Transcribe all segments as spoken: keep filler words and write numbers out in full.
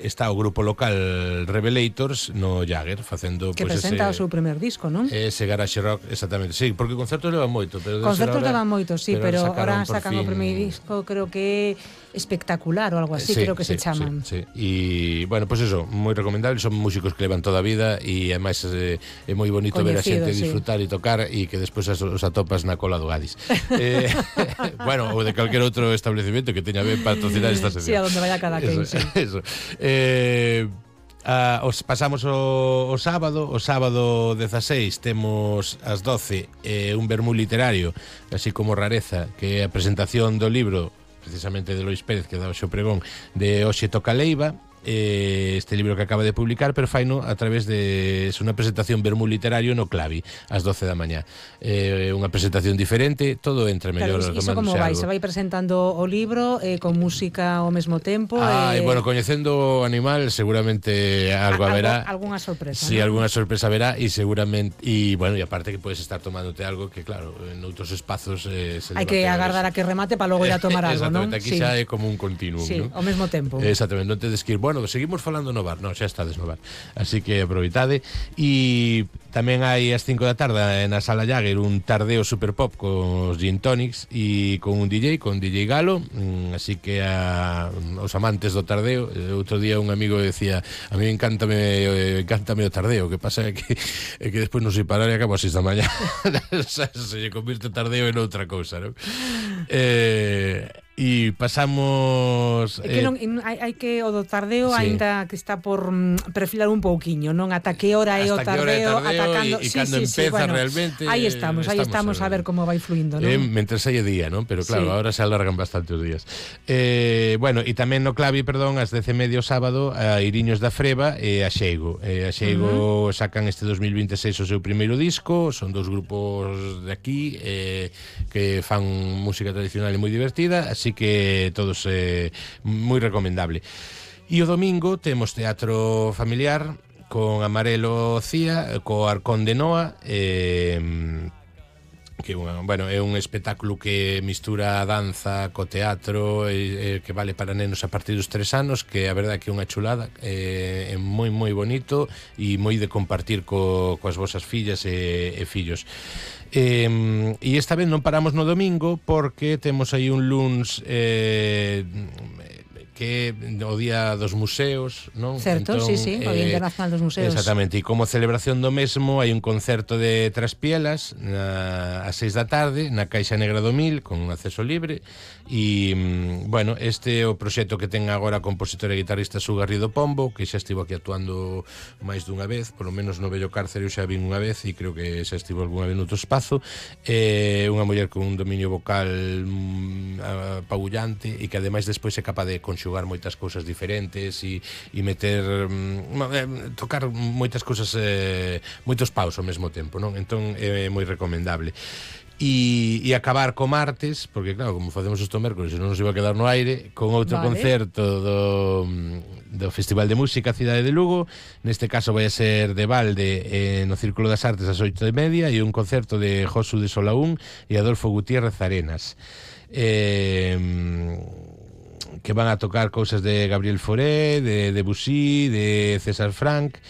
está o grupo local Revelators no Jagger facendo que pues, presenta ese, o seu primer disco, non? Ese garage rock, exactamente. Sí, porque concertos levan moito, pero concertos ahora, levan moito, sí, pero, pero ahora sacan fin... o primeiro disco, creo que espectacular ou algo así, sí, creo que sí, se chaman. Sí, sí. E, bueno, pues eso, moi recomendable, son músicos que levan toda a vida e ademais é, é moi bonito Coñecido, ver a xente sí. disfrutar e tocar e que despois os atopas na cola do Gadis. eh, bueno, ou de calquer outro establecimiento que teña ben patrocinar esta sección. Sí, a donde vaya cada quen, sí. Eso. Eh, Uh, os pasamos o, o sábado o sábado dezaseis temos ás doce eh, un vermú literario así como rareza, que é a presentación do libro precisamente de Lois Pérez que dá o xo pregón de Oxe Toca Leiva, eh, este libro que acaba de publicar, pero faino a través de es unha presentación vermú literario no Clavi ás doce da mañá, eh, unha presentación diferente, todo entre mellor. Claro, iso como vai? Se vai presentando o libro eh, con música ao mesmo tempo? Ah, eh... e bueno, coñecendo o animal seguramente algo haberá. Algo, algunha sorpresa, Sí, ¿no? alguna sorpresa verá e seguramente e bueno, e aparte que podes estar tomándote algo que claro, en outros espazos eh, se hai que agardar a que remate para logo ir a tomar algo, non? Exactamente, aquí sí. xa é como un continuum, sí, ¿no? ao mesmo tempo. Exactamente, non tedes que ir, bueno, seguimos falando no bar, non, xa estades no bar. Así que aproveitade e tamén hai ás cinco da tarde na Sala Jagger un tardeo super pop con os gin tonics e con un D J, con D J Galo, así que a, os amantes do tardeo, outro día un amigo decía, a mí encántame encántame o tardeo, que pasa é que é que despois non sei parar e acabo a seis da mañá. Se lle convirte o tardeo en outra cousa, non? Eh, e pasamos é que non, hai, hai que o do tardeo sí. Ainda que está por mm, perfilar un pouquiño, non? Ata que hora é o tardeo, tardeo atacando e, e sí, cando sí, empeza sí, bueno, realmente aí estamos, aí estamos, estamos a ver como vai fluindo, non? Eh, mentre saia día, non? Pero claro, sí. Ahora se alargan bastante os días. Eh, bueno, e tamén no Clavi, perdón, ás dez e media o sábado a Iriños da Freba e a Xeigo. Eh, a Xeigo uh -huh. sacan este dos mil vinte e seis o seu primeiro disco, son dous grupos de aquí eh, que fan música tradicional e moi divertida, así que todos eh, moi recomendable. E o domingo temos teatro familiar con Amarelo Cía, co Arcón de Noa, eh, que bueno, é un espectáculo que mistura a danza co teatro e, e que vale para nenos a partir dos tres anos, que a verdade que é unha chulada, é, é moi moi bonito e moi de compartir co, coas vosas fillas e, e fillos. E, e esta vez non paramos no domingo porque temos aí un luns eh, que o día dos museos, non? Certo, entón, sí, sí, o Día eh, Internacional dos Museos. Exactamente, e como celebración do mesmo hai un concerto de Traspielas na, a seis da tarde na Caixa Negra do Mil con acceso libre e, bueno, este é o proxecto que ten agora a compositora e guitarrista Su Garrido Pombo, que xa estivo aquí actuando máis dunha vez, polo menos no Bello Cárcere xa vin unha vez e creo que xa estivo algunha vez noutro espazo. É unha muller con un dominio vocal mm, apabullante e que ademais despois é capaz de conxugar moitas cousas diferentes e, e meter mm, tocar moitas cousas eh, moitos paus ao mesmo tempo, non? Entón é moi recomendable. E, e acabar co martes, porque claro, como facemos isto mércoles, non nos iba a quedar no aire, con outro vale. Concerto do, do Festival de Música Cidade de Lugo. Neste caso vai a ser de balde eh, no Círculo das Artes ás oito e media e un concerto de Josu de Solaún e Adolfo Gutiérrez Arenas, eh, que van a tocar cousas de Gabriel Fauré, de Debussy, de César Franck.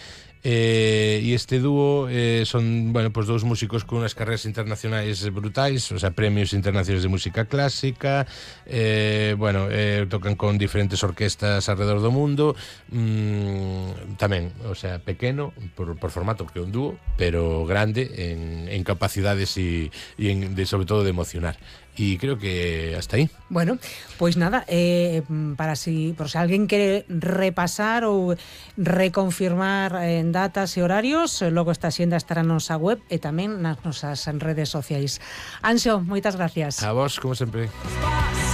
Eh, e este dúo eh, son, bueno, pues dous músicos con unhas carreras internacionais brutais, o sea, premios internacionais de música clásica, eh, bueno, eh, tocan con diferentes orquestas alrededor do mundo, mm, tamén, o sea, pequeno por, por formato, porque é un dúo, pero grande en, en capacidades e, e en, de, sobre todo de emocionar. E creo que hasta aí. Bueno, pois nada, eh, para si, por se alguén quere repasar ou reconfirmar en datas e horarios, logo esta xenda estará na nosa web e tamén nas nosas redes sociais. Anxo, moitas gracias. A vos, como sempre.